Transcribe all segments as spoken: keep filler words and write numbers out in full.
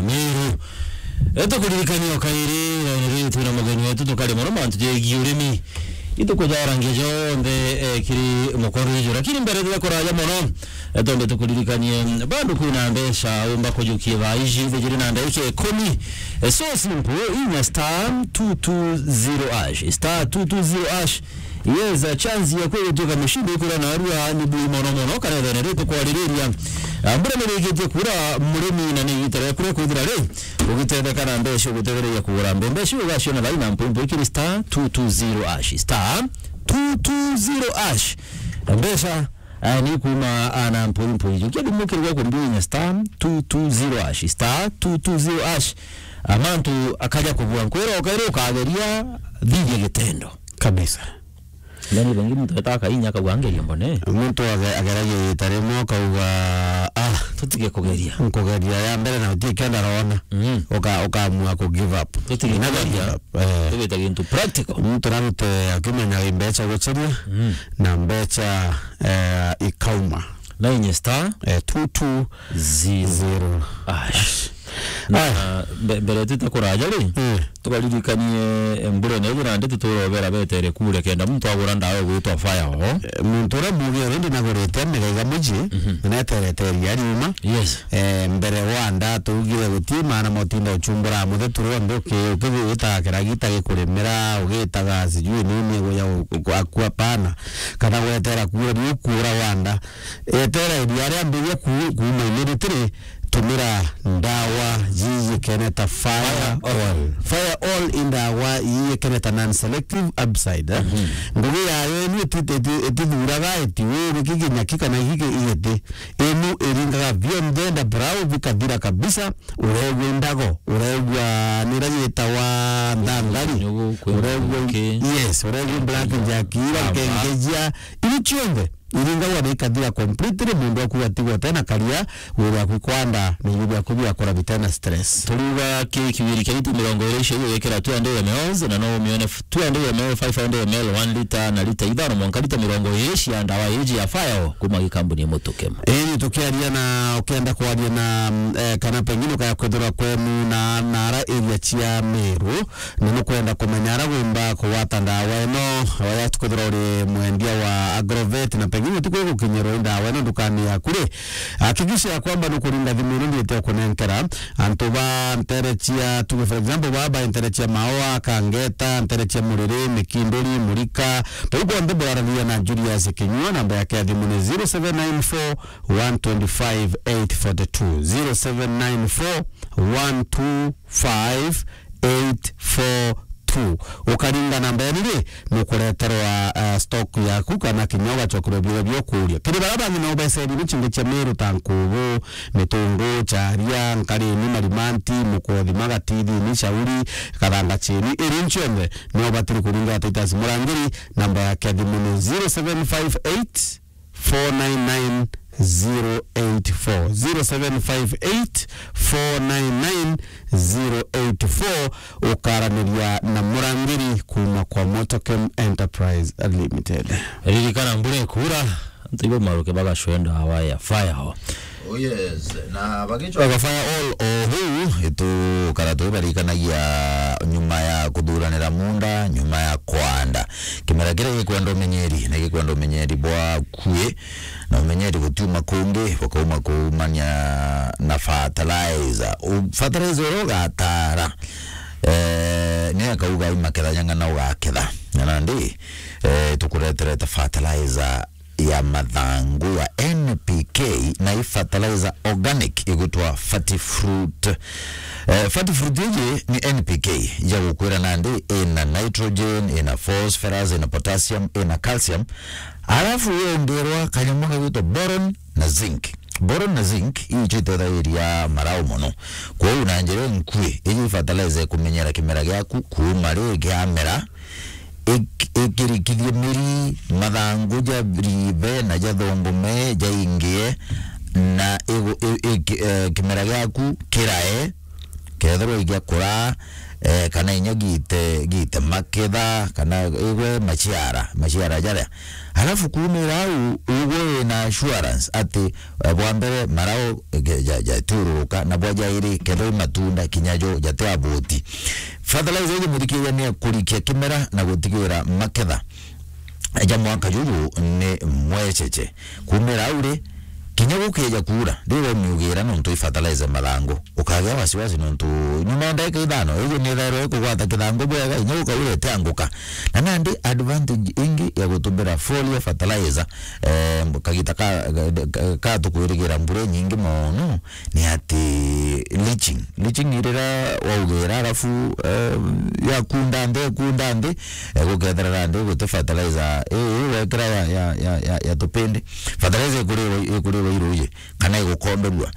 Meru. E, tukuririkania o kairi, e, riu twina mugeni wetu tukari mono mantu jegie urimi. Itukujarangia jonthe, e, kiri mukondo juju. Lakini mbere turia kuraja mono, e, twambe tukuririkanie, bado kwina mbeca umba kujukia thaa iji, thijiri na ndagika ikumi. E, so simple, inya star two two zero hash. Star two two zero hash. Yes, a chance ya kwigwituika mushindi ikwira narua ni bui mono mono, kana ethene ritukwariria. Ah, mbura ni rikitie kura murimi na ni igita ria kuria kwithira ri ugitetheka na mbeca ugutethereria kugura mbe. Mbeca ugaciona thaina mpwimpu ikiri star two two zero hash. Star two two zero hash. Mbeca, ah, ni kuma, ah, na mpwimpu ijo. Kia thimu kirigwa kumbinya star two two zero hash. Star two two zero hash. Amantu akaja kubua nkwira ukaira ukageria thithia gitendo. Kabisa. Ndani bengi muntu etaka inya akauga ngeria mbone. Muntu age-, ageragia ita rimwe akauga, "Ah, tutige kugeria." Nkugeria ya mbere na utikenda rona. Mm. Uka-, ukamua ku give up. Tutige kugeria. Never give up. Eh. Tugita gintu practical. Muntu narute akimenya mbeca guceria. Mm. Na mbeca, eh, ikauma. Na inye star, eh, two two zero hash. Na, ah, mbe-, mbere twite kuraja ri, eh, tukaririkanie, eh, mbura ino ithira ndi tuturobera betere kure kenda muntu agura ndawa igwitwa Fire All. Eh, muntu uria mugi already nagurite migaiga muji, mhm, na neterete ria riuma. Yes. Eh, mbere wa nda tugire guti maana motinda uchumbura muthe turi onthe uki-, ukigwita kiragita gikurimira, ugitaga sijui nini guya u-, u-, akua pana, kana gwetera kura riu kura wa nda. Etera iria riambiria ku-, kuuma immediately, tumira ndawa yiyikene ta Fire All. Fire All i ndawa yiyikene ta non-selective herbicide, eh? Mhm. Ngugi yayo inu iti-, iti-, itithuraga iti uu giki kinyaki kana giki igiti. Inu iringaga bionthe nda brown bikathira kabisa, uregua indago, uregua nira yitawa nthangari, uregua, yes, uregua black jack, ira nkengejia, iu cionthe iringagwa na ikathira completely, mundu aku atigwa tena karia, wira aku kwanda na irio biaku biakora bitena stress. Turiuga ki kiwiri kia lita mirongo iri icio igwikira two hundred M Ls, na no umione f-, two hundred M L, five hundred M L, one lita na lita ithano mwanka lita mirongo iri cia ndawa iji ya Fire All kuma gikambuni Mutukem. Ii, tukiaria na, ukienda kwaria na, mm, eh, kana pengine ukaya kwithirwa kwenu na, na ara area cia Meru, na nukwenda kumenya ara wimba kugwata ndawa ino, waya tukwithirwa uri mwendia wa Agrovet, na pengine utikwi gukinyirwa i ndawa ino ndukani yaku ri, hakikisha ya kwamba nukuringa thimu ino ndiite ukunenkera antu ba ntere cia, tuge for example, baba ntere cia Maoa, Kangeta, ntere cia Muriri, Mikinduri, Murika, bau bonthe buraragia na Julius Kinyua, namba yake ya thimu ni zero seven nine four, one twenty-five, eight forty-two, zero seven nine four, one two five, eight four two. Ukaringa namba ya riri, nukureterwa, uh, stock yaku kana kinya ugacokerwa biria biokuria. Kiri baria bangi no beserie ni chingi cia Meru ta nkubu, mitungu, charia, nkarini, marimanti, mukothi, magatithi, ni shauri, kathanga chini, iri cionthe no batiri kuringa Titus Murangiri, namba yake ya thimu ni zero seven five eight, four nine nine, zero eight four, zero seven five eight, four nine nine, zero eight four, ukaraniria na Murangiri kuma kwa Motokem Enterprise Limited. Ririkana mbura ikura, antu ibo maruke bagacwenda ndawa ya Fire All. Oh yes, na bagicwaga Fire All o huu, itukara tubarikanagia nyuma ya kuthuranira munda, nyuma ya kwanda. Kimera kiria gikwenda umenyeri, ni gikwenda umenyeri bwa kwi, na umenyeri gutiuma kungi, bukauma kuumania na fertilizer. U-, fertilizer uria ugatara, eh, ni akauga imaketha nyang'ana ugaketha. Na nandi, eh, tukureterete fertilizer ya mathangu ya N P K na i fertilizer organic igwitwa Fertifruit. Eh, Fertifruit iji ni N P K ya gukwira nandi ina nitrogen, ina phosphorus, ina potassium, ina calcium. Arafu yongerwa kanyamu kagwitwa boron na zinc. Boron na zinc icio itethagiria marau mono. Kwou na njira inkui, iji fertilizer ikumenyera kimera giaku kuuma ri kiamera, ik-, ikirikithie miri, mathangu ja rive na ja thongume jaingie, na igu-, i-, i-, ki-, eh, kimera giaku kirae, kethirwa igiakura, eh, kana inya giite, giite maketha, kana igwe maciara, maciara jaria. Alafu kuumira au, ugwe wina assurance ati, eh, bwa mbere, marau, eh, ja-, jatiururuka, na bwa jairi, kethirwa i matunda, kinya jo jati abuti. Fertilizer iji muthikiria ni akurikia kimera na gutigira maketha ja mwaka juju ni mwecheche. Kuumira au ri, kinya gukeja kuura, riu umiugira nontu i fertilizer mathangu, ukagia wasiwasi nontu nyuma ya ndagika ithano, iji ni thairwa ikugwata kithangu bwega, inya gukaura itianguka. Na nandi advantage ingi ya gutumira foliar fertilizer, eh, kagita ka, ka, ka tukwirigira mbura inyingi mono, ni ati leaching. Leaching ni riria waugira, alafu, eh, yakunda nthi, ikunda nthi, eh, gukethira nandi guti fertilizer, ii, ii wekira ya, ya, ya, ya, ya tupindi. Fertilizer ikurirwa, ikurirwa iruji, kana igukomberua.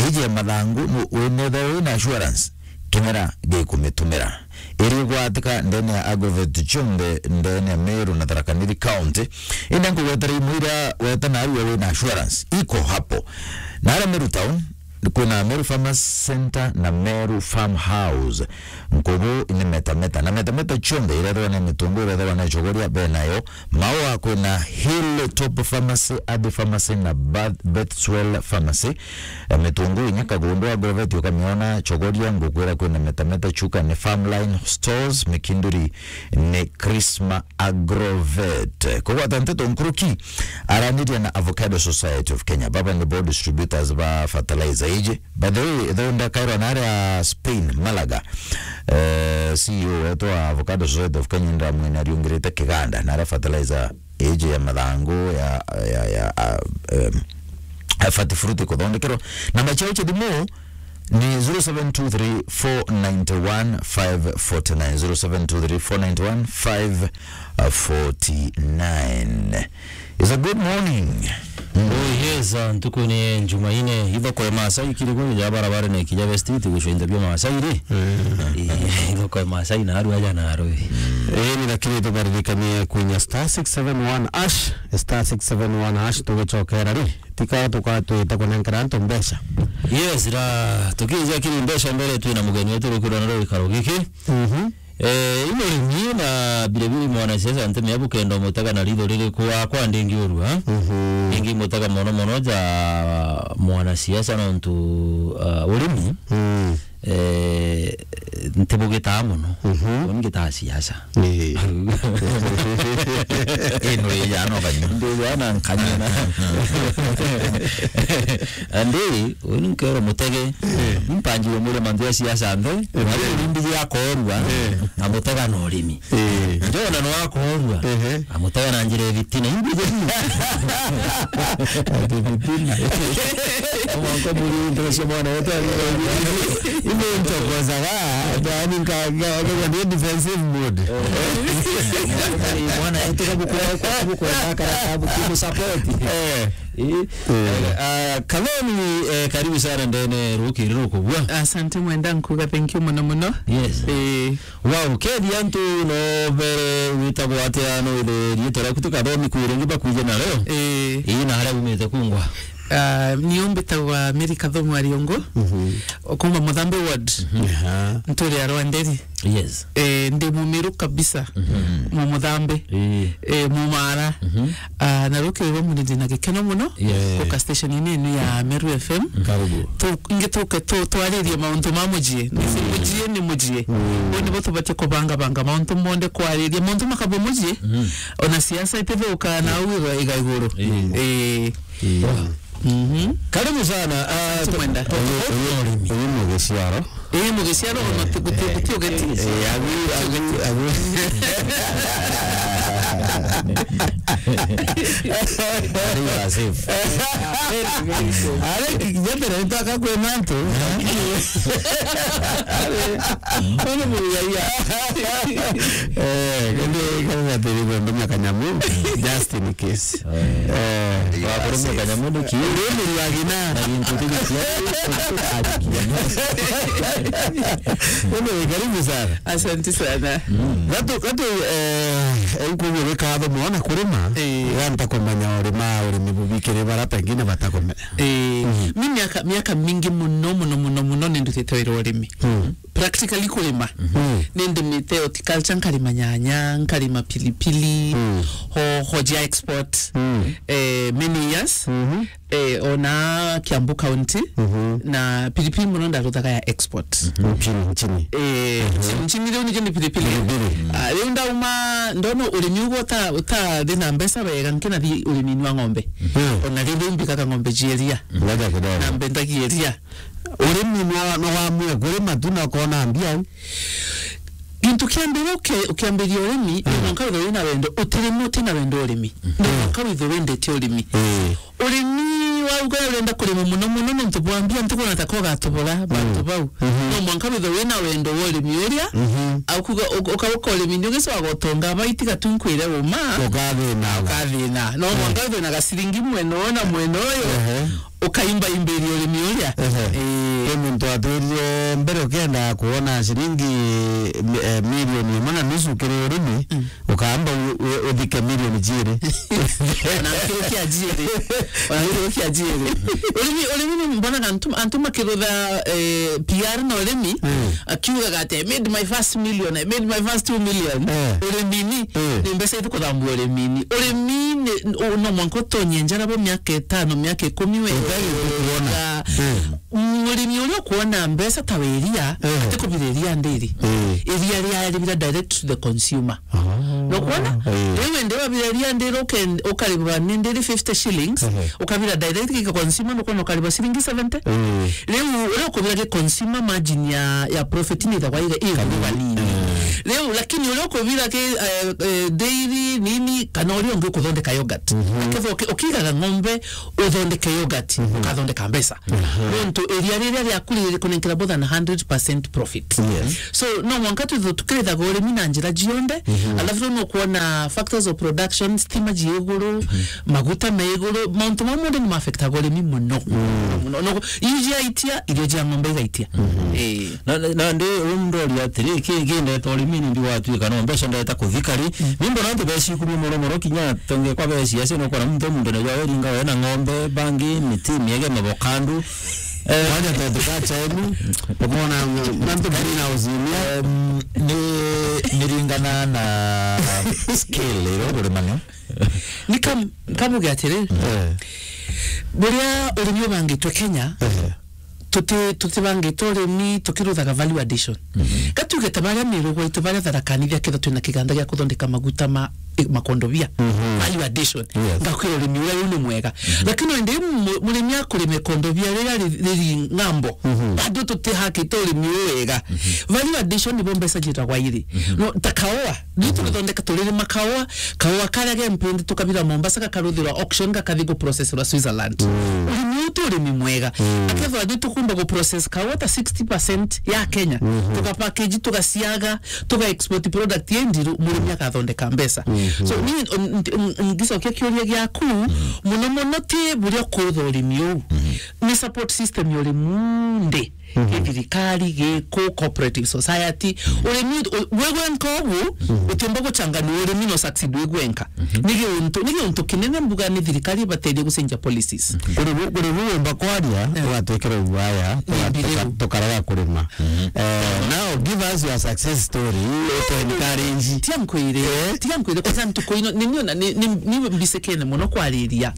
Iji ya mathangu, nu-, winethirwa wina assurance, kimera gikumitumira. Iri igwatika ndene ya agrovet cionthe ndene ya Meru na Tharaka Nithi County. Indi nkugwetera imwe iria weta narua wina assurance, iko hapo. Naria Meru Town, kwina Meru Farmers Center na Meru Farmhouse. Nkubu ni metameta. Na metameta cionthe irethirwa na mitungu, irethirwa na chogoria benayo. Maua kwina Hill Top Pharmacy, Athi Pharmacy na Beth-, Bethswell Pharmacy. Eh, mitungu inya Kagundu Agrovet ukamiona, chogoria ngukwira kwina metameta, Chuka ni Farmline Stores, Mikinduri ni Krisma Agrovet. Kugwata nteto nkuruki, araniria na Avocado Society of Kenya. Baba ni bo distributors ba fertilizer iji. By the way, though ndakairwa naria Spain, Malaga, eh, C E O wetu wa Avocado Society of Kenya ndamwina ariungirite kiganda, naria fertilizer iji ya mathangu ya, ya, ya, ah, em, ya Fati Fruit kuthondekerwa. Namba ciao cia thimu ni zero seven two three four nine one five four nine, zero seven two three four nine one five four nine. It's a good morning. Mm. Oh, yes, ah, ntuku ni Jumaine, ithoko ya Maasai kiri kuri ja barabara na ikija West, iti gucwa into bia Maasai ri. Mm. Eh, ithoko ya Maasai na aru aja na aru. Eh, ni lakini tubaririkanie kwinya star six seven one hash, star six seven one hash, tugicokera ri. Tika tukatwita kunenkera antu mbeca. Yes, ra, tukija kiri mbeca mbere, twina mugeni wetu rukirwa na rwikaro giki. Mhm. Eh, i murimi na biribiri mwanasiasa, ntemi ya bukenda umutega na ritho ririku? Akwa ndingiurua. Mhm. Ndingimutega mono mono ja mwanasiasa nontu, ah, urimi, mm, eh, ntibugitaa mono. Mhm. Uni ngitaa siasa. Ii. Ii, nuri jana ukanyua. Ndi jana nkanyua na. Andi, uni nkero mutege. Eh. Mpanjire mure mantu ya siasa nthe. Eh. Wari urindi ya korua. Eh. Na mutega na urimi. Eh. Njona no akorua. Ehe. Amutega na njira ya bitina. Imbi je. Ati bitina. Mwanko muri ndio sio mwana wetu ali. Ime ntokozaga, yani nka, nka, nka, nka, defensive mode. Mwana yetu kabuku, kabuku, kara kabuku support. Eh. Eh. Eh. Ah, Kaloni, eh, karibu sana ndene rukiri rukubua. Asante mwenda nkuga thank you muno muno. Yes. Eh. Wow, kethi antu no bere witagwa atia, no ithe riitwa riaku tukathomi kwire ngi bakwije na leo. Eh. Ii, na haria umite kungwa? Ah, ni umbitagwa Mary Kathomu Ariongo. Mhm. Okuma Muthambe ward. Mhm. Aha. Nturi ya Rwanderi. Yes. Eh, ndi mumiru kabisa. Mhm. Mu Muthambe. Ii. Eh, mu Mara. Mhm. Ah, na rukiri rwa muni ndina gikeno muno. Yes. Guka station-ini inu ya Meru F M. Karibu. Tu, ingi tuke tu, twaririe mauntu ma mujii. Nisi mujii ni mujii. Mm. Uu nibo tubatie kubangabanga mauntu monthe kwariria. Mauntu makabwa mujii, mm, ona siasa itithuka na au iga, iga iguru. Mm. Ii. Ii. Mhm. Karibu sana. Ah, asante mwenda. Uyu, uyu, uyu mugiciaro. Ii, mugiciaro ona ti, guti, guti ugeti. Eh, agu, agu, agu. Ari wa safe. Ari, jembere, nitaka kwe mantu. Ari, uni muyaya. Eh, kende, kende atiri kwenda kanyamu, just in case. Eh, wakurumia kanyamu ni ki? Ni murwagina. Na gintu ti giciari. Wewe karibu sana. Asante sana. Mm. Gatu, gatu, eh, eh, uko Wikatho mwana kurima, eh, ya ntakumenya urima urimi bubikire bara pengine batakumenya. Eh, mhm, mi miaka, miaka mingi muno, muno, muno, muno nindutite wira wa urimi. Mm. Practically kurima. Mm. Nindimite horticulture, nkarima nyanya, nkarima pilipili, mm, hoho jia export, mm, eh, many years. Mhm. Eh, ona Kiambu County, mhm, na pilipili muno ndaruthaga ya export. Mhm. Nchini, nchini. Eh, mhm, nchini, nchini riu nikio ni pilipili. Pilipili. Ah, riu ndauma, ndona urimi ugo uta, utathi na mbeca wega, nkinathi urimini wa ng'ombe. Mhm. Ona riu mbikaga ng'ombe jieria. Ngoja kidogo. Na mbendagia iria. Urimi no, no wamue kurima tu na ukona mbia. Gintu kia mbere uke-, ukiambiria urimi, mm, no mwanka withwe wina wendo, utirimi utina wendo urimi. No, mm, mwanka withwe wendete urimi. Mm. Urimi wauga urenda kurima muno muno nontu bwa mbia, ntikwona ta ko gatubura, mm, bantu bau. Mhm. No mwanka withwe wina wendo wa urimi uria, mhm, au kuga uk-, uka-, uka urimi ni ugicoka gutonga aba itiga tu nkwire uma. Ukathina. Ukathina. No, mm, mwanka withwe na gaciringi mwena uyu na mwena uyu. Ehe. Ukaimba imbiri urimi uria. Ehe. Ii. Kwi muntu atwirire mbere ukienda kuona ciringi mi-, eh, milioni imwe na nusu kiri urimi, mm, ukamba u-, u-, uthike milioni jiiri. Ona nkirukia jiiri. Ona nkirukia jiiri. Urimi, urimi ni mbonaga antu, antu makirutha, eh, P R na urimi, mm, akiugaga ati, "I made my first million, I made my first two million." Eh. Urimini, mm, ni mbeca iriku kuthambua urimini. Urimi ni, u-, no mwanka utonye njara bo miaka itano, miaka ikumi we. Utari kuona. Mm. Murimi uria ukuona mbeca ta wa iria, eh, atikubira iria ndiri. Eh. Iria ria ribira direct to the consumer. Ah. No kuona? Eh. Riu indi wabira iria ndiri uken-, ukaribwa ni ndiri fifty shillings, ehe, ukabira direct gika consumer, no kuona ukaribwa ciringi seventy. Eh. Riu uria ukubira gi consumer margin ya, ya profit ni ithagwa iga, ithagwa kanini. Eh. Riu, lakini uria ukubira ki, eh, eh, dairy, nini, kana uria ungi ukuthondeka yogurt. Mhm. Akethwa uki-, ukiigaga ng'ombe, uthondeke yogurt, mhm, ukathondeka mbeca. Aha. Nontu iria riria riaku riri kunenkera more than hundred percent profit. Yes. So, no mwanka twithwe tukirithaga urimi na njira cionthe, mhm, alafu riu nukwona factors of production, stima ji iguru, mhm, maguta me iguru, mauntu mau monthe ni ma-affectaga urimi muno. Mm. Muno. No, iu jiaitia, irio jia ng'ombe igaitia. Mhm. Ii. Na, na, na ndi, uu ndoria atiri, ki, ki ndeta urimini ndi gwatuika no mbeca ndeta kuthika ri? Mm. Ni mbona antu becikumia mono mono kinya tonge kwa beci acio no kora muntu muntu na jwa ringa we na ng'ombe, bangi, miti, miege, mabokandu. Eh, waja tetu ka chenu, ukona mantu green house ni. Em, ni, ni ringana na skill iro kurimania. Ni kam-, kamuge atiri, eh, buria urimi ubangitwe Kenya, eh, tuti-, tutibangite urimi tukiruthaga value addition. Mhm. Gatuge ta baria Miru gwaitu baria Tharaka Nithi akethwa twina kiganda gia kuthondeka maguta ma, i-, makondobia. Mhm. Value addition. Yes. Ngakwira urimi uria riu ni mwega. Mhm. Lakini wende mu-, murimi akurime kondobia riria ri-, riri ng'ambo. Mhm. Bado tutihakite urimi uu wega. Mhm. Value addition nibo mbeca ciitagwa iri. Mhm. No, ta kaua. Riu, mhm, turithondeka turirima kaua, kaua karia ge mpindi tukabira Mombasa gakaruthirwa auction gakathi guprocessirwa Switzerland. Mm. Urimi uu ti urimi mwega. Mm. Akethwa riu tukumba guprocess kaua ta sixty percent ya Kenya. Mhm. Tugapackage, tugasiaga, tuga export product ye ndiru, murimi akathondeka mbeca. Mhm. So, ni, n-, n-, n-, ngicokia kiuria giaku, muno muno ti buria kurutha urimi uu. Mhm. Ni support system ya urimi undi. Mhm. Gi thirikari, gi ku, cooperative society. Urimi u-, wi gwenka ugu, mhm, utiumba guchanganua urimi no succeed wi gwenka. Mhm. Ni giuntu, ni giuntu kinene mbuga ni thirikari ibateithie gucenjia policies. Kuri bu-, kuri bu wumba kwaria, eh, ugatwikira uguaya, ni tuga-, mbi tuga-, riu tukarega kurima. Mhm. Eh, now give us your success story, to encourage. Tiga nkwire, eh? Tiga nkwire, kwanza ntuku ino, ni niona, ni, ni, ni mbisikene muno kwariria.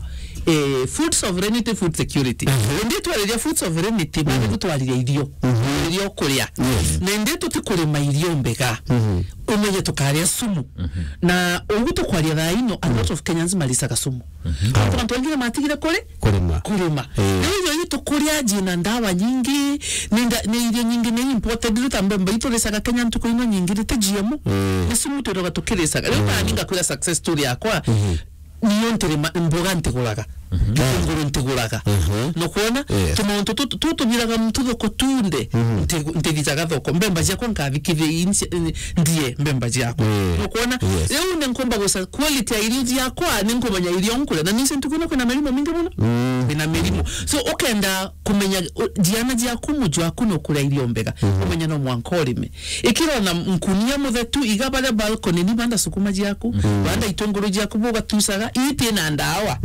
Eh, food sovereignty, food security. Mhm. Indi twariria food sovereignty, bado, mhm, tutwariria irio. Mhm. Irio kuria. Yes. Na indi tutikurima irio mbega. Mhm. Umenye tukaria sumu. Mhm. Na ugu tukwaria thaa ino, a lot of Kenyans maricaga sumu. Mhm. Antu, antu baingi ni matigire kuri? Kurima. Kurima. Eh. Riu irio ii tukuria jina ndawa nyingi, ni nda-, ni irio nyingi ni imported, riu ta mbemba ituricaga Kenya ntuku ino nyingi, rite G M O. Eh. Ni sumu twiraga tukiricaga. Riu, mm, ta ninga kwira success story yakwa, mhm, niyo ntirima, mboga ntiguraga. Mhm. Gitunguru ntiguraga. Mhm. Nukwona? Yes. Tumauntu tu, tu tubiraga muntu thoko tunde, mhm, ntigu-, ntigitaga thoko. Mbemba ciakwa nkathikithia inci-, ndie mbemba ciakwa. Mm. Nukwona? Yes. Riu ni nkumba guca quality ya irio ciakwa, ni nkumenya irio nkuria. Na nisi ntuku ino kwina mirimo mingi muno. Mm. na mirimu. So, ukenda kumenya, u-, jiana jiaku, muju waku nukuria irio mbega, umenya no mwanka urime. Ikira ona nkunia muthetu, iga baria balcony ni banda sukuma jiaku, banda itunguru jiaku bugatusaga, iti na ndawa.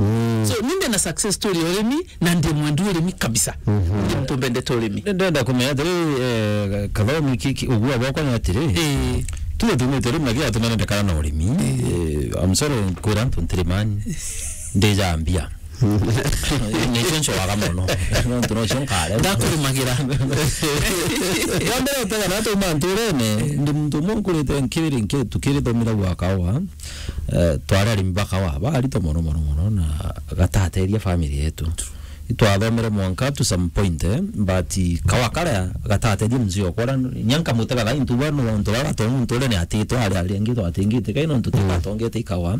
So, ni ndi na success story ya urimi, na ndi mwendu urimi kabisa. Ndi muntu mbendete urimi. Ndenda kumenya atiri, eh, Kathomi, ki, ki, ugua bwakwa ni atiri, eh, tuge tumite urimi na kira tumene ndekana na urimi. Eh, I'm sorry, kwira antu ntirimani. Ndijambia. Nicio ncoaga mono. Nontu nocio nkare. Ndakurimagira. Wa mbere, utega na atuma nturene, ndi muntu umwe nkurite nkiri, nkiri, tukiri thomira gwa kawa. Eh, twari arimi ba kawa, barito mono, mono, mono, na gatateria family yetu. Itwathomere mwanka to some point, eh, but kawa karia gatateria mzee okwa, nya nkamutega thaa intuba nontu baba tontu nturene atitwe ari, ari angi twatingite, kai nontu tugatongete ikawa.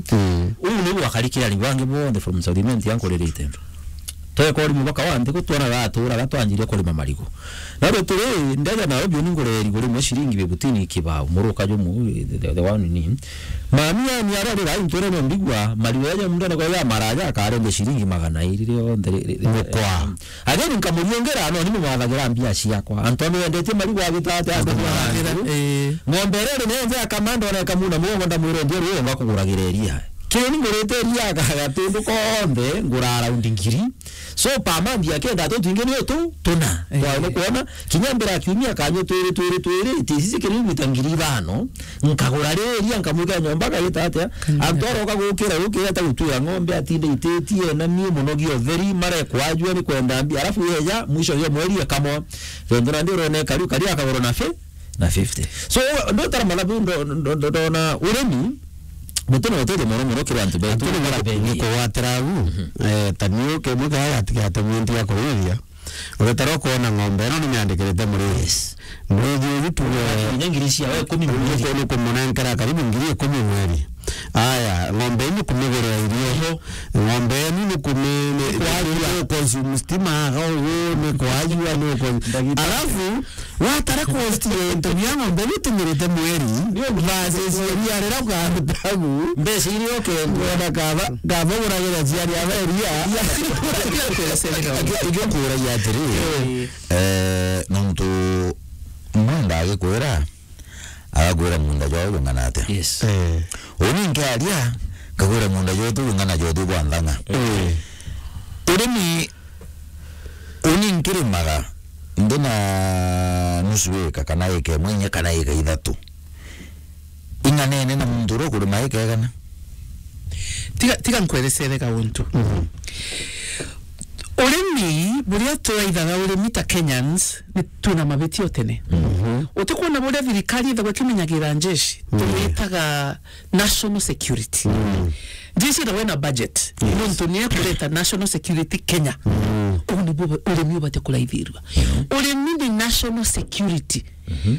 Uu niu gwakarikira arimi bangi bonthe from South Imenti ankuririte. Tweka urimi bwa kawa ntigu twona gaturaga twanjirie kurima marigu. Na riu turi, ndeja Nairobi uni ngureri kuri mwe ciringi bibutini kibao, muruka jumu, the, the one ni. Mami yani arari rai nturene mbigua, marigu yaja mundene kwa ya maraja, akarenge ciringi magana iri rionthe ri, ri, ri, mukwa. Again, nkamuriongera, no, ni mumathagira mbia ciakwa. Antu amendetie marigu agitata, antu mumathagira, eh. Ng'ombe iri ri nenze akamanda ona ikamuna mugongo ndamwira ndio ruo ngakuguragira iria. Kiri ni ngurite iria aga gatundu konthe, ngura around ngiri. So, per month akenda tu twingi ni utu tuna. Eh. Kwa ni kuona, kinya mbere ya kiumia kanywe twiri, twiri, twiri, tisi kiri gwita ngiri ithano, nkagura riria, nkamwika nyomba, akagita atia? Kanywe. Antu aroka gukira, gukira ta gutwira ng'ombe, atinde ititie, na mie munogi utheri, mare kwajua ni kwenda mbia, alafu yeja, mwisho yo mweri ekamwa. Rende na ndio rone kariu, kari akagura na fi-, na fifty. So, ndo tara mana bu ndo, ndo, ndo, ndona urimi, Mutu na uteithio mono mono kiri antu betu. Antu ni bara ni kuwatira u. Eh, ta niu kimwe kaya gatigate muntu ya kurithia. Uretara kuona ng'ombe ino ni miandikirite muriri. Yes. Muriri uyu tuge kinya ngiri cia we ikumi mweri. Uyu ni kumunenkera karibu ngiri ikumi mweri. Aya, ng'ombe ino kumigurira irio. Ng'ombe ino ni kumi-, ni, ni, ni consume stima, aga uyu ni kwajua, ni con-, alafu, watara cost ya into bia ng'ombe bitumirite mweri, versus iria riria ukaruta gu. Mbeca iria ukenda. Wona kaba, kaba uragira ciari aba iria. Ingi-, ingikuragia atiri, eh, nontu mwana ndagikwira, agakwira munda jwawe jung'ana atia? Yes. Eh. Uni nkiaria, ngakwira munda jwetu jung'ana jwetu bwa nthang'a. Eh. Urimi Uni nkirimaga ndi na nusu eka, kana eka imwe inya, kana eka ithatu. Ing'anene na muntu uria ukurima eka igana. Tiga, tiga nkwerecere gauntu. Mhm. Urimi, buria turaithaga urimi ta Kenyans, ni twina mabitia o tene. Mhm. Utikwona buria thirikari ithagwa ikimenyagira njeshi, mhm, tumitaga national security. Mm. Jeshi ithagwa ina budget. Yes. Nontu ni ekureta national security Kenya. Mm. Uu nibu urimi ubate kuraithirua. Mm. Urimi ni national security. Mhm.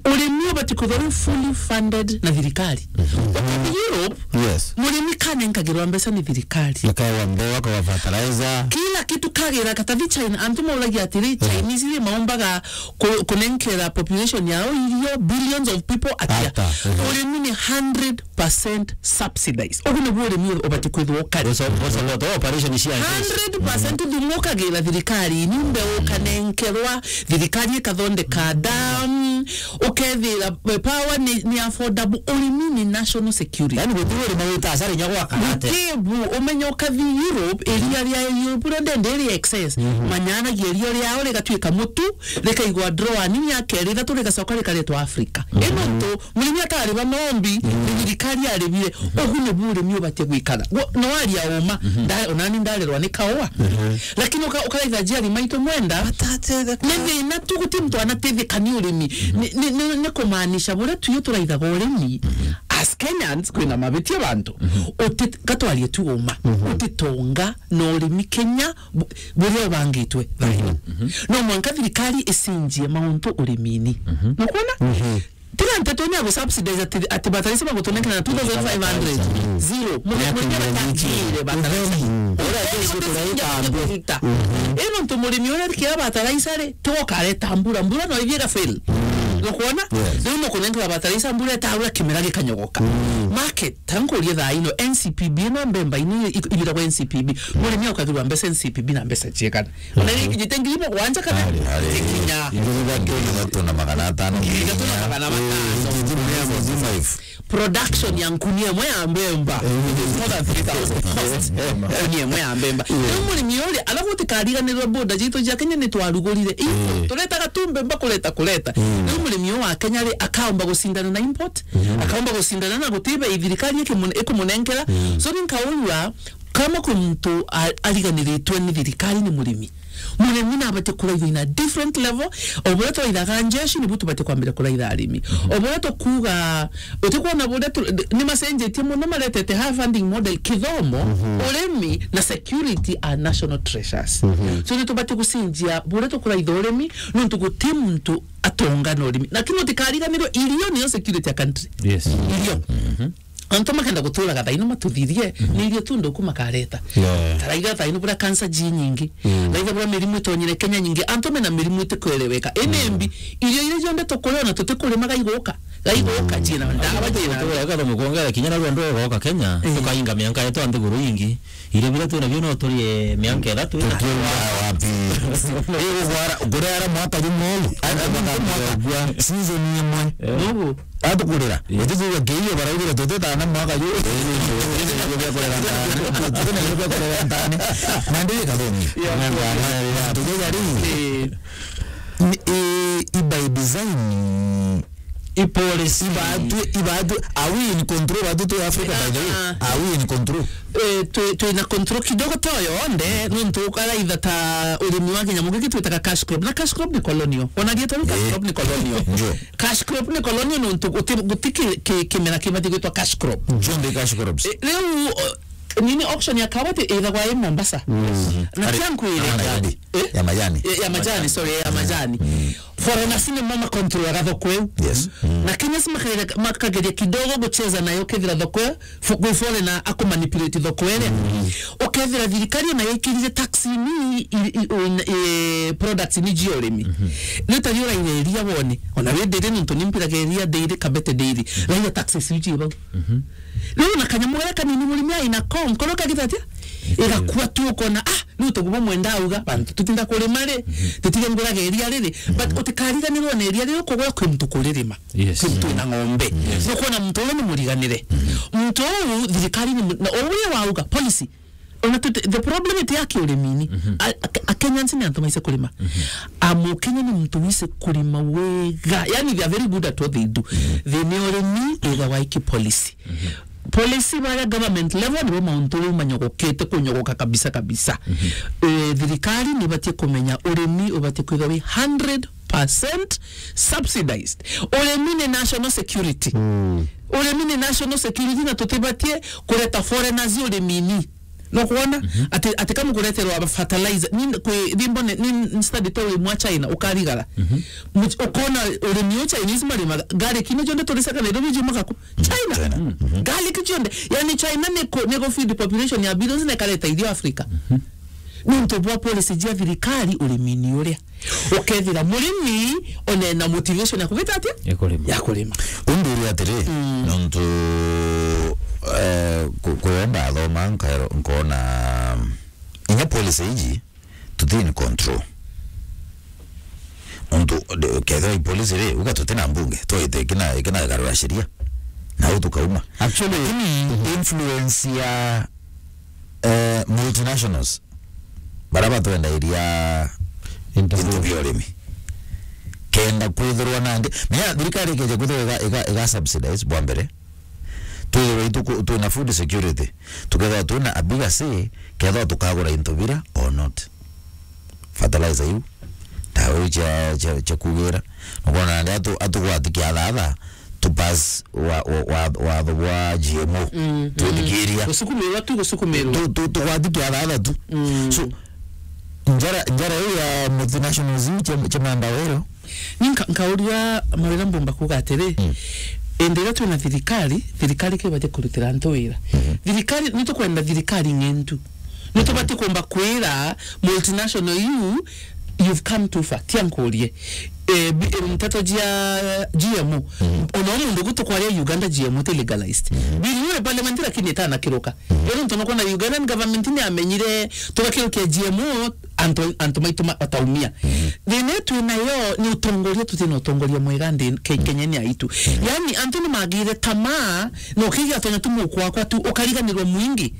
Urimi ubate kwithirwa wi fully funded na thirikari. Mhm. Ukathi Europe, yes, murimi kanenkagirwa mbeca ni thirikari. Akawa mbewa, akawa fertilizer. Kila kitu kagira katathi China. Antu mauragia atiri, eh, Chinese ni maumbaga ku-, kunenkera population yao irio, billions of people atia. Ata, mhm. Urimi ni hundred percent subsidized. Ugu nibu urimi ubati kwithirwa ukari. Guso-, guso-, guso-, operation cia hundred percent thumu ukagira thirikari, ni mbeu ukanenkerwa, thirikari ikathondeka dam, ukethira, eh, power ni, ni affordable. Urimi ni national security. Yani, gutiri urima wita asara inya gwaka ate. Gutibu, umenya ukathi Europe, iria ria Europe ria ndende ri excess. Mhm. Manyanagia irio riao rigatuika mutu, rikaigwa drawer ni miaka iri ithatu, rigacoka rikaretwa Africa. Mhm. Ino ntu, murimi atariba nombi, mhm, ni thirikari aribire. Mhm. Ugu nibu urimi ubatie gwikara. Gwo, no aria uma, mhm, nda-, onani ndarerwa ni kaua. Mhm. Lakini uka-, ukaraitha njiari maitu mwenda, ni thina tu, guti muntu anatetheka ni urimi. Mhm. Ni, ni, ni, ni kumaanisha buria tuyu turaithaga urimi, mhm, as Kenyans, kwina mabitia bantu. Mhm. Uti-, gatwarie tu uma. Mhm. Utitonga na urimi Kenya, bu-, buria ubangitwe thaino. Mhm. No mwanka thirikari icinjie mauntu urimini. Mhm. Nukwona? Mhm. Tiga nteto ni agusubsidize ati, ati bataraisa bagutunengera na two thousand five hundred. Mhm. Zero. Murimi uria batangire bataraisa. Mhm. Uria uria uria uria uria. Mhm. Ino ntu murimi uria kira bataraisa ri, tigo kareta mbura. Mbura no ithie igafail. Mhm. Nukwona? Yes. Riu nukunengera bataraisa mbura etaura kimera gikanyogoka. Mhm. market, tankurie thaa ino, N C P B ino mbemba ino i-, i-, ibiragwa N C P B. Murimi aukagirwa mbeca N C P B na mbeca ciegana. Ona iri ikinyite ngiri mugwanja kana itikinya. Ngiri ithatu na magana atano. Ngiri ithatu na magana atano. Production ya nkuni emwe ya mbemba, it is more than three thousand cost. Nkuni emwe ya mbemba. Riu murimi uria, alafu utikariganirwe border jitu jia Kenya ni twarugurire. Ii, turetaga tu mbemba kureta, kureta. Riu murimi uyu wa Kenya ri, akaomba gucindana na import, akaomba gucindana na guti bei thirikari ikimun-, ikumunenkera. So ni nkaurua, kama kwi muntu a-, ariganiritwe ni thirikari ni murimi. Murimi nabati kuraithwa in a different level. O buria twaithaga njeshi, nibu tubati kwambira kuraitha arimi. O buria tukuuga, utikwona buria tu-, ni macenjetie muno, maretete higher funding model, kithomo, urimi na security are national treasures. So ni tubati gucenjia buria tukuraitha urimi, nontu guti muntu atonga na urimi. Lakini utikariganirwe, irio niyo security ya country. Yes. Irio. Antu makenda guturaga thaino matuthirie, ni irio tu nthuku makareta. Yeah. Taraiga thaino buria cancer ji nyingi. Taraiga buria mirimu itonyire Kenya nyingi. Antu mena mirimu itikwereweka. Ene mbi, irio iria cionthe tukuria ona tutikurima gaiguka. Gaiguka, jina ndawa, jina. Turaga mukwongera kinya na rwendo goka Kenya, tukainga mianka yetu a nthiguru ingi. Irio biria twina bio no turie mianka ithatu ina. Tukiuma wapi? Ii, ugwara, kuria ara mwaka jumwe uu, ati mwaka, season imwe. Nugu. Atukurira. Utikuuga kiio baraugire tutitana mwaka ju. Tutina irio bia kurera ntane. Tutina irio bia kurera ntane. Na ndi kathoni. Tukiuga ri. Ni, i, i by design. I policy. Ibatwi, ibatwi, are we in control? Batwi tu Africa, by the way. Are we in control? Eh, twi, twina control kidogo to yonthe, nontu ukaraitha ta urimi wa kinyamu giki twitaga cash crop. Na cash crop ni colonial. Ona rietwa riu cash crop ni colonial. Ndio. Cash crop ni colonial nontu guti, guti ki, ki, kimera kibati gwitwa cash crop. Jonthe cash crops. Eh, riu, o, nini auction ya kawa ti ithagwa i Mombasa. Na ari, kia nkwire. Ari Nairobi. Eh? Ya majani. Ya, ya majani, sorry, ya majani. Foreigners ni mo macontrolaga thoko iu. Yes. Na Kenyans makageria, makageria kidogo gucheza nayo, kethira thoko iu, fo-, kwi foreigner akumanipulate thoko iria. Ukethira thirikari ona yikirire tax ni i, i, i, i, products ni jia urimi. Riu ta riu uraire iria wone, ona wi daily nontu ni mpiraga iria daily, Kabete daily. Raia taxes iu ji bau. Riu na kanyamu garia kanini murimi aina ko, nkoro kagita atia? Igakua tu ukona, ah, Riu tuguo mwenda auga, bantu tutinda kurima ri, tutige nguraga iria riri. But utikariganirwe na iria riri ukugura kwi muntu kuririma. Yes. Kwi muntu wina ng'ombe. Yes. Nukwona muntu uyu ni muriganire. Muntu uu thirikari ni mu-, na uria wauga, policy. Ona tuti-, the problem iti ya kiurimini. A, a, a Kenyans ni antu maise kurima. A Mukenya ni muntu wise kurima wega. Yani, they are very good at what they do. Thina ya urimi, ithagwa iki policy. Policy baria government level nibo mauntu riu manyogokete kunyogoka kabisa kabisa. Eh, thirikari nibatie kumenya urimi ubatie kwithwa wi hundred percent subsidized. Urimi ni national security. Urimi ni national security na tutibatie kureta foreigners urimini. Nukwona? Ati, ati kamu kureterwa fertilizer. Ni kwi, ni mbone, ni study to wi mwa China, ukarigara. Much-, ukona urimi u Chinese marimaga, garlic ino cionthe turicaga Nairobi jiumaga ku? China. China. Garlic cionthe. Yani China ni ku, ni ku feed population ya billions na ikareta irio Africa. Nontu bwa policy jia thirikari urimini uria. Ukethira murimi onena motivation ya kubita atia? Ya kurima. Ya kurima. Umbiri atiri, nontu, eh, ku-, kuria ndathoma nkaero-, nkona, inya policy iji, tuti in control. Nontu, de-, kethira i policy ri, uga tuti na mbunge, twaite ikina, ikina igarura sheria. Na u tukauma. Actually, lakini influence ya, eh, multinationals, baria batwendairia into bia urimi. Kenda kwithirwa nangi, menya thirikari ikeja kwithirwa iga, iga, iga subsidize bwa mbere, twithirwe itu-, twina food security, tukethirwa twina a bigger say, kethirwa tukagura into bira or not. Fertilizer iu, ndawa iu cia, cia, cia kugira, nukwona nandi atu-, atugwati kiathatha, tu pass wa, wa, wa, watho bwa G M O. Twithikiria. Gusukumirwa tu, gusukumirwa. Tu, tu, tugwati kiathatha tu. So, njara, njara iu ya multinationals iu cia, cia mandawa irio, Ni nka-, nkauria mawira mbumba kuuga atiri, indi iria twina thirikari, thirikari kibatie kurutira antu wira. Thirikari, ni tukwenda thirikari ng'entu. Ni tubatie kumba kwira multinational iu, you've come too far. Tia nkurie. eh, bi-, eh, nteto cia G M O. Ona o muntu gutu kwaria Uganda G M O ti legalized. Bill iu iri parliament lakini itanakiruka. Iri ntu nukwona Ugandan government ni amenyire tugakirukia G M O, antu, antu maitu ma-, bataumia. Thina iu twi nayo ni utongoria, tuti na utongoria mwega nthi Ke-, Kenya-ini yaitu. Yani antu ni magire tamaa, na ukiiga tonya tu mukwakwa tu, ukariganirwa mwingi.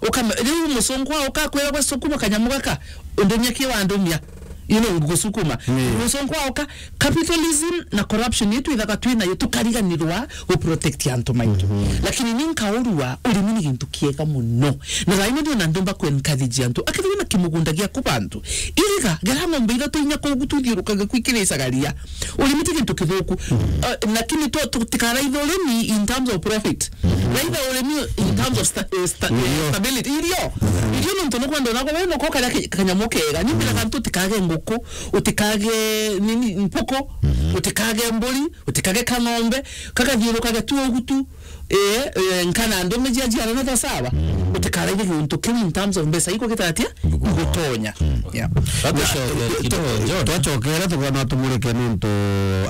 Ukame-, riu musungwa ukakwira gwe sukuma kanyamu gaka, undumia ki wandumia. You know, ngusukuma. Musungwa uka, capitalism na corruption yetu ithaga twi nayo, tukariganirwa gu protect antu maitu. Lakini ni nkaurua, urimi ni gintu kiega muno. Na thaino ndio na ndumba ku encourage antu. Akethirwa na kimugunda giaku bantu, iriga, gera ng'ombe ithatu inya kuu gututhiurukaga kwikiricaga ria. Urimi ti gintu kithuku. Uh, lakini tu-, tutikaraitha urimi in terms of profit. Raitha urimi in terms of sta-, eh, sta-, eh, stability. Irio. Irio nontu nukwenda nako we nuko karia ki-, kanyamu kega. Nimbiraga antu utikage nguku, utikage nini, mpuku, utikage mburi, utikage kang'ombe, kagathiurukage tu ugu tu. Eh, eh, nkana ndume cia jiara na thasawa. Utikaraige gintu kiu in terms of mbeca iko gitaratia? Igutonya. Yeah. Twacoke kidogo, John. Twacokera tukona tumurike nontu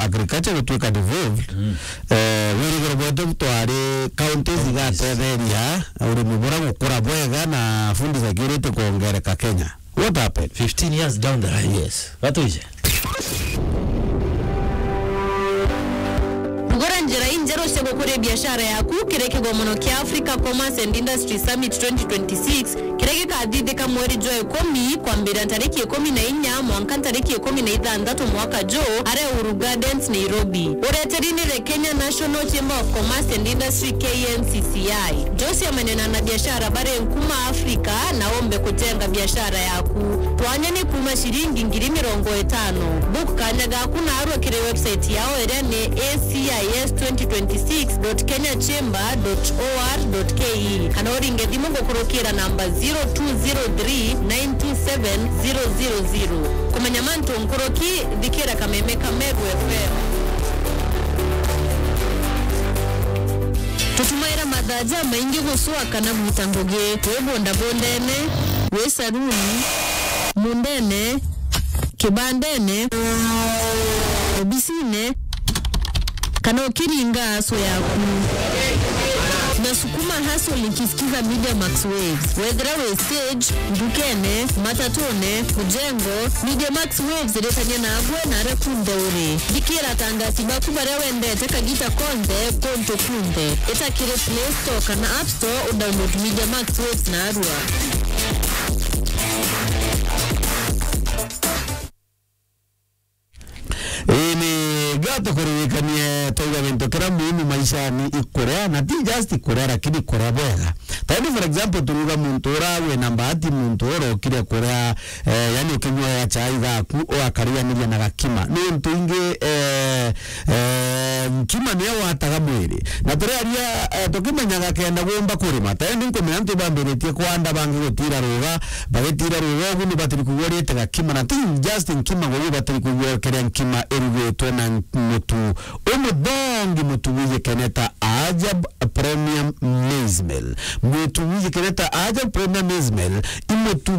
agriculture gutwika devolved. Eh, wirigiro bwetu twari counties igatetheria urimi bura gukura bwega na food security kuongereka Kenya. What happened? Fifteen years down the line. Yes. Gatwije. Gura njira injeru cia gukuria biashara yaku kiri kigomono kia Africa Commerce and Industry Summit twenty twenty-six, kiria gikathithika mweri jwa ikumi, kwambiria ntariki ikumi na inya mwanka ntariki ikumi na ithanthatu mwaka juu, aria Uhuru Gardens, Nairobi. Ureteri ni the Kenya National Chamber of Commerce and Industry, K N C C I. Josia manena na biashara bari nkuma Afrika na umbe kujenga biashara yaku. Twanya ni kuma ciringi ngiri mirongo itano. Book kanya gaku narua kiri website yao iria ni A C I S twenty twenty-six dot kenya chamber dot O R dot K E, kana uringe thimu gukurukira namba zero two zero three nine two seven zero zero zero. Kumenya mantu nkuruki, thikira kameme ka Meru F M. Tutumaira mathaa jamaingi gucua kana gwita ngugi, wi bondabondene, wi saruni, mundene, kibandene, obisine, kana ukiringa aso yaku. Nasukuma hustle nikisikiza Media Max Waves. Wethira wi stage, ndukene, matatune, mujengo, Media Max Waves iritania nagwe na aria kunthe uri. Thikira atangati baku baria wendete kagita konthe, kuntu kunthe. Ita kiri Play Store kana App Store udownload Media Max Waves narua. Ii, ni gato kuririkanie twauga gintu kiria muhimu maishani ikuria, na ti just ikuria, lakini ikuria bwega. Tani, for example, turuga muntu ura wina mbahati, muntu ura ukire kuria, eh, yani ukinywa ya chai gaku, ugakarianiria na gakima. Ni untu ingi, eh, eh, nkima niyo wataga mwiri. Na turiaria, eh, tukimenyaga kenda gumba kurima. Tani nkumenya antu bambiritie kwanda bangi gutira ruga, bagitira ruga ugu ni batiri kuigua riete gakima. Na ti just nkima gugu batiri kuigua keria nkima irugitwe na mutu umuthongi, mutu wijikene ta Ajab Premium Maize Meal. Mutu wijikene ta Ajab Premium Maize Meal, i mutu